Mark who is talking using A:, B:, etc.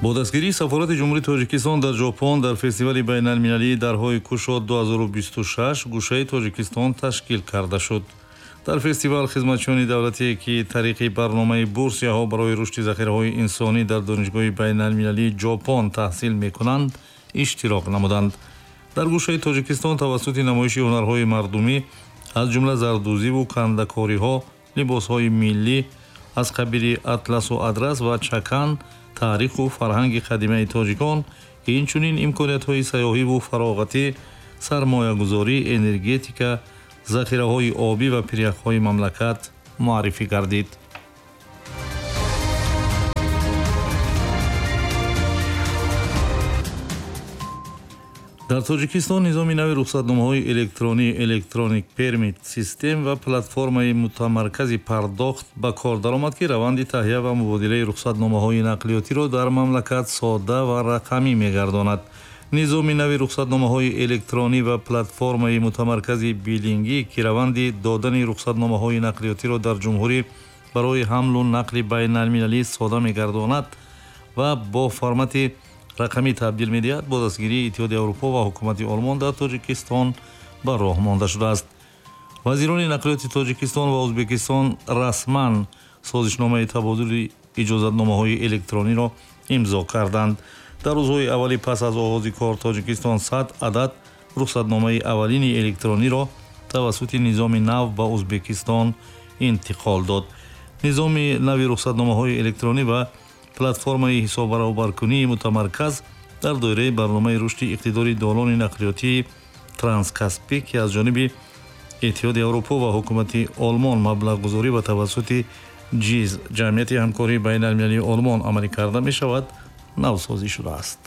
A: Бо дастгирии сафорати Ҷумҳурии Тоҷикистон дар Ҷопон дар фестивали байналмилалии дарҳои кушод 2026 гӯшаи Тоҷикистон ташкил карда шуд. Дар фестивал хизматчиёни давлатие, ки тариқи барномаи бурсияҳо барои рушди захираҳои инсонӣ дар Донишгоҳи байналмилалии Ҷопон таҳсил мекунанд, иштирок намуданд. Дар гӯшаи Тоҷикистон тавассути намоиши ҳунарҳои мардумӣ, аз ҷумла зардӯзиву кандакориҳо, либосҳои миллӣ аз қабили атласу адрас ва чакан, таъриху фарҳанги қадимаи тоҷикон, инчунин имкониятҳои сайёҳиву фароғатӣ, сармоягузорӣ, энергетика, захираҳои обӣ ва пиряхҳои мамлакат муаррифӣ гардид. Дар Тоҷикистон низоми нави рухсатномаҳои электронӣ Electronic Permit System ва платформаи мутамаркази пардохт ба кор даромад, ки раванди таҳия ва мубодилаи рухсатномаҳои нақлиётиро дар мамлакат содда ва рақамӣ мегардонад. Низоми нави рухсатномаҳои электронӣ ва платформаи мутамаркази билингӣ, ки раванди додани рухсатномаҳои нақлиётиро дар ҷумҳурӣ барои ҳамлу нақли байналмилалӣ сода мегардонад ва бо формати рақамӣ табдил медиҳад, бо дастгирии Иттиҳоди Аврупо ва ҳукумати Олмон дар Тоҷикистон ба роҳ монда шудааст. Вазирони нақлиёти Тоҷикистон ва Ӯзбекистон расман созишномаи табодули иҷозатномаҳои электрониро имзо карданд. Дар рӯзҳои аввали пас аз оғози кор Тоҷикистон 100 адад рухсатномаи аввалини электрониро тавассути низоми нав ба Ӯзбекистон интиқол дод. Низоми нави рухсатномаҳои электронӣ ва платформаи ҳисоббаробаркунии мутамарказ дар доираи барномаи рушди иқтидори долони нақлиётии Транскаспӣ, ки аз ҷониби Иттиҳоди Аврупо ва ҳукумати Олмон маблағгузорӣ ва тавассути ҷиз ҷамъияти ҳамкории байналмилалии Олмон амалӣ карда мешавад, навсозӣ шудааст.